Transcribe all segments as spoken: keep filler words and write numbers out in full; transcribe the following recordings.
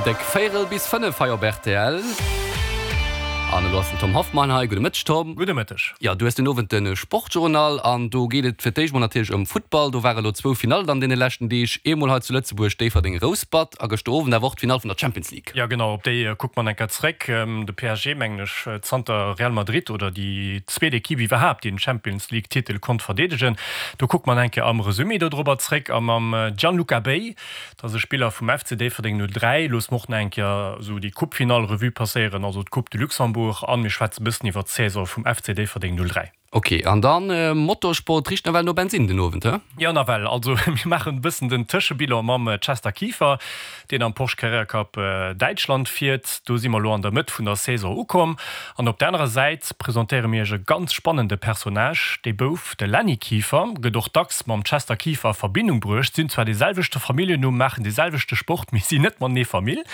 Déck véierel bis fënnef hei op rtl. An elo ass den Tom Hoffmann hei. Gudde Mëtteg, Tom. Gudde Mëtteg. Jo, du hues den Owend de Sportjournal an do geet et fir d'éischt mol natierlech ëm Futtball. Do ware lo zwou Finallen an deene leschten Deeg. Eemol hei zu Lëtzebuerg, Déifferdeng-Rouspert a gëschter Owend awer och d'Finall vun der Champions League. Jo, genau, op déi kuckt mer enker zréck. De P S G, mengen ech, zanter Real Madrid oder déi zweet Ekipp iwwerhaapt, déi den Champions League-Titel konnt verdeedegen. Do kuckt mer enke am Resumé dodrobber zréck a mam Gianluca Bei, dat ass e Spiller vum F C Déifferdeng null dräi, loosse mer och nach eng Kéier esou déi Coupe-Finall Revue passéieren, also d'Coupe de Luxembourg, an mir schwätze bëssen iwwer d'Saison vum F C Déifferdeng null dräi. Ok, an dann Motorsport, richt nawell no Bensinn den Owend, he? Jo, nawell. Also mir maachen e bëssen den Tëschebilan mam Chester Kieffer, deen am Porsche Carrera Cup Däitschland fiert. Do si mer elo an der Mëtt vun der Saison ukomm. An op der anerer Säit presentéiere mir iech e ganz spannende Personnage, Dee Bouf, de Lenny Kieffer, gëtt och dacks mam Chester Kieffer a Verbindung bruecht. Si hunn zwar dee selwechte Familljennumm, maachen dee selwechte Sport, mee sinn net matenee Famill.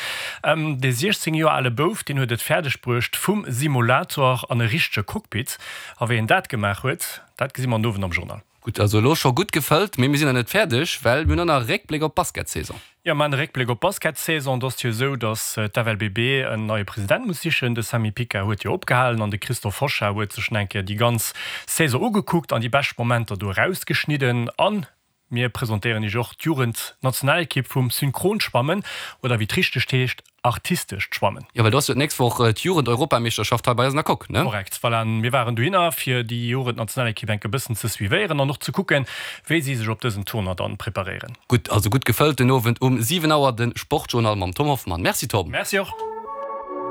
Dee siechzéng Joer ale Bouf, deen huet et fäerdeg bruecht, vum Simulator an e richtege Cockpit. A wéi en dat gemaach huet, dat gesi mer den Owend am Journal. Gutt, also elo scho gutt gefëllt, mee mir sinn nach net fäerdeg, well mir hunn och nach e Réckbléck op d'Basketsaison. Jo, mir maachen e Réckbléck op d'Basketsaison. Et ass jo esou, datt d'F L B B en neie President muss sichen. De Samy Picard huet jo opgehalen an de Christophe Hochard huet sech nach eng Kéier déi ganz Saison ugekuckt an déi bescht Momenter do erausgeschnidden. A mir presentéieren iech och d'Jugendnationalekipp vum Synchronschwammen, oder wéi et richteg heescht, artistescht Schwammen. Jo, well do ass jo d'nächst Woch d'Jugend-Europameeschterschaft hei bei eis an der Coque, ne? Korrekt, voilà. Mir waren dohinner, fir déi Jugendnationalekipp enk e bëssen ze suivéieren an och ze kucken, wéi si sech op dësen Tournoi dann preparéieren. Gutt, also gutt gefëllt den Owend um siwen Auer de Sportjournal mam Tom Hoffmann. Merci Tom. Merci och.